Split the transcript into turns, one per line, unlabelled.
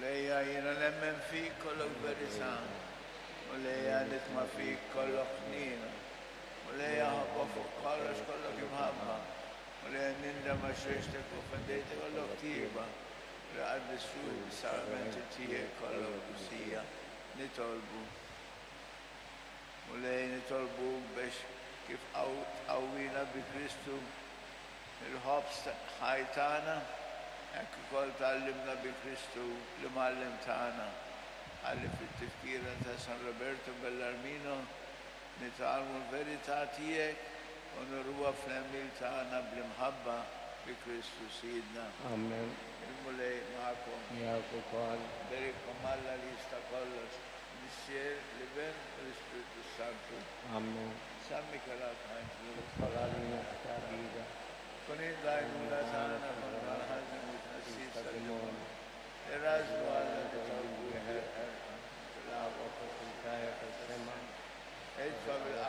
Mulejja jiena nemmen fik kollok verità, Mulejja nitma' fik kollok ħniena, Mulejja ħobba fuq kollox kollok imħabba, Mulejja nindem għax għextek u offendejtek kollok tjieba, Mulejja qaddis ruħi bis-sagramenti tiegħek kollok qdusija. Nitolbu. Mulej nitolbuk biex kif tqawwina bi Kristu il-ħobż ħaj tagħna, hekk ukoll tgħallimna bi Kristu l-Imgħallem tagħna, ħalli fit-tifkira ta' San Roberto Bellarmino nitgħallmu l-verità tiegħek u nuruha fl-għemil tagħna bl-imħabba bi Kristu Sidna.
Amen.
Il-Mulej magħkom.
Miegħek ukoll.
Iberikkom Alla li jista' kollox, il-Missier, l-Iben u l-Ispirtu s-Santu.
Amen.
San Mikiel Arkanġlu.
Idħol għalina f'tagħbida.
Kun int l-għajnuna tagħna kontra l-ħażen u t-tnassis tad-demonju. Irrażżnu Alla nitolbuk bil-ħerqa.
L-aqwa fakultaja tas-sema.
Itfa' bil.